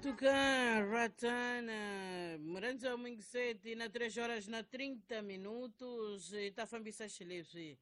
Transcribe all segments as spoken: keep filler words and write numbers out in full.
Antucan, Ratana, Murandza Mingiseti na três horas na trinta minutos hi ta fambisa xileswi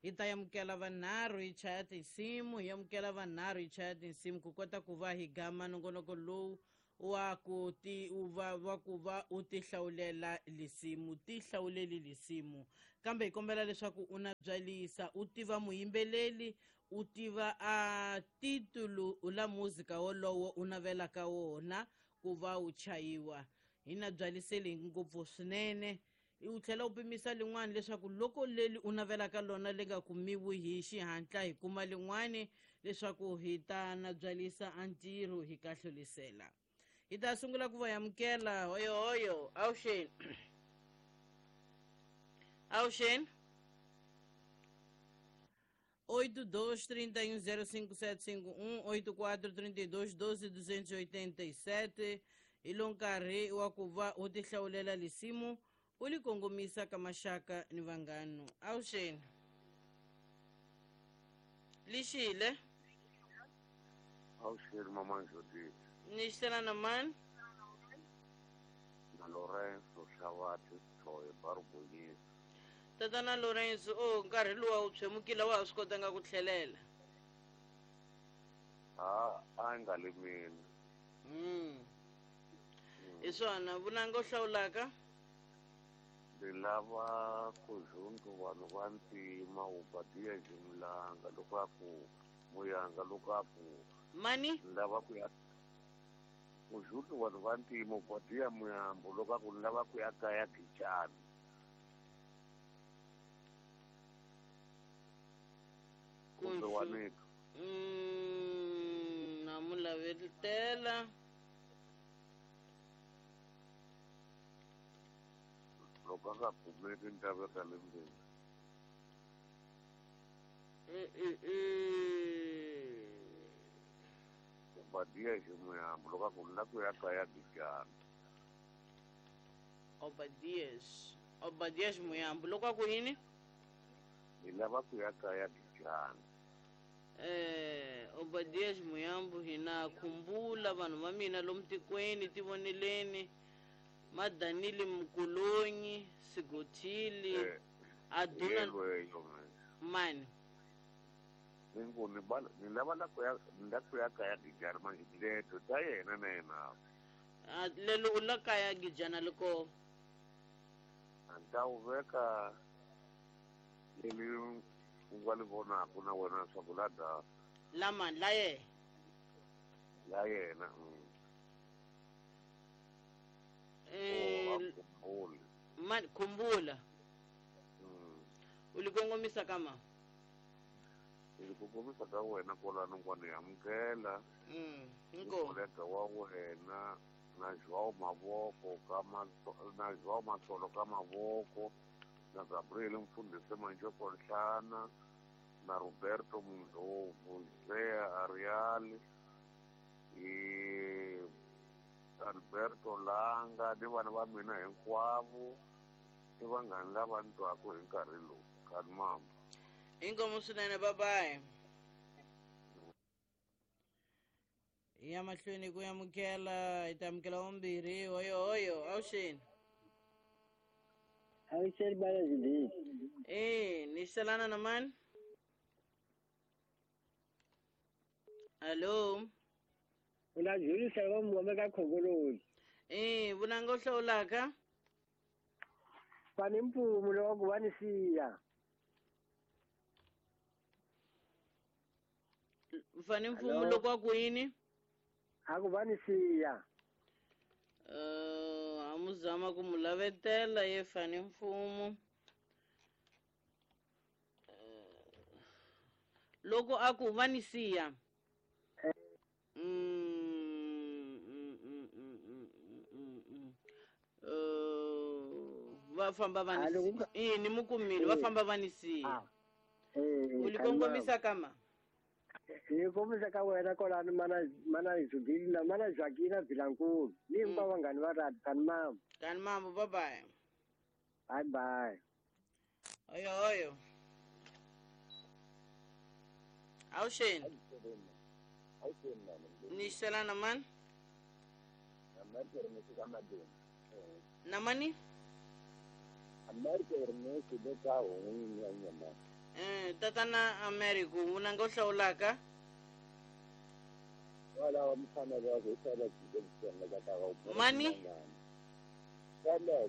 hi ta amukela vanharhu hi chaya tinsimu hi amukela vanharhu hi chaya tinsimu ku kota ku va hi gama nongonoko lowu wa ku ti va wa ku va u ti hlawulela lisimu ti hlawuleli lisimu kambe hi kombela leswaku u na byalisa u tiva muyimbeleli u tiva a titulu la muzika wolowo u navelaka wona ku va wu chayiwa hi na byaliseli ngopfu swinene u tlhela u pimisa lin'wana leswaku loko leli u navelaka lona li nga kumiwi hi xihatla hi kuma lin'wani leswaku hi ta na byalisa a ntirho hi kahlulisela hi ta sungula ku va amukela hoyo hoyo awuxeni awuxeni oito dois trinta e um zero cinco sete cinco um, oito quatro trinta e dois doze duzentos e oitenta e sete hi lo nkarhi wa ku va u tihlawulela lisimu u li kongomisa ka maxaka ni vanghano awuxeni lixile awuxeni mama Judith ni xitela na mani na Lorenzo Xavati Thoye Barubonyisa tatana Lorenzo o nkarhi luwa wu tshwemukile wa ha swi kotanga ku tlhelela a a nga le mina mm hi swona vunanga u hlawulaka ndzi lava ku zundu vanhu va ntima Obadiya Jimlanga loko a ku Muyanga loko a ku mani ndzi lava ku ya ku zundu vanhu va ntima Obadiya Muyambo loko a ku ndzi lava ku ya kaya Gijani kumbe waneka mm na mu lavetela loko a nga kumeki ni ta veka le ndzeni Obadiya Ximuyambo loko a ku ni la ku ya kaya Gijani Obadias Obadias Muyambo loko a ku yini ni lava ku ya kaya Gijani eh Obadias Muyambo hina khumbula vanhu va mina lomu tikweni tivoneleni Madanile Mkulonyi Sigothili eh, Aduna mani ni ku ni bala ni lava la ku ya ni la ku ya kaya Gijani manje leto ta yena na yena a lelo u la kaya Gijana loko a ni ta wu veka leli u nga li vonaku na wena swa ku la da lama la ye la yena mm. eh khumbula mani khumbula mm. u li kongomisa kama ni ku kongomisa ka wena kwalano kwani amukela mm inko kolega wa wena na João Mavoko ka na João Matsolo ka Mavoko na Gabriel Mfundisi Manjoko Nhlana na Roberto Mndlovu Zea Arial i Alberto Langa ni vana va mina hinkwavo i vanghani lava ni twaku hi nkarhi lowu kani mama inkomu swinene bye bye ya mahlweni ku amukela hi ta amukela wambirhi hoyo hoyo awuxeni awuxeni bana Judith eh ni xelana na mani hallo una Julisa va muhame ka Khongoloni eh vunanga u hlawulaka fani mpfumu loko va ni siya fani mpfumu loko a ku yini a ku va ni siya uh a mu zama ku mu lavetela ye fani mfumo loko a ku va ni siya mm mm mm mm mm mm uh va famba va ni siya ni mu kumile va famba va ni siya u li kongomisa kama ni kombisa ka wena kwalano mana mana Judith na mana Joaquina Vilankulu ni hinkwavo vanghani va radi kani mama kani mama bye bye bye bye oyo oyo awuxeni ni xelana mani America Ernest ka Madeni. Na mani? America Ernest le ka hon'wini ya Nyamani. Eh, tatana America vunanga u hlawulaka? Walawa mfana wa ku sala tshike ka ta Mani? Sala.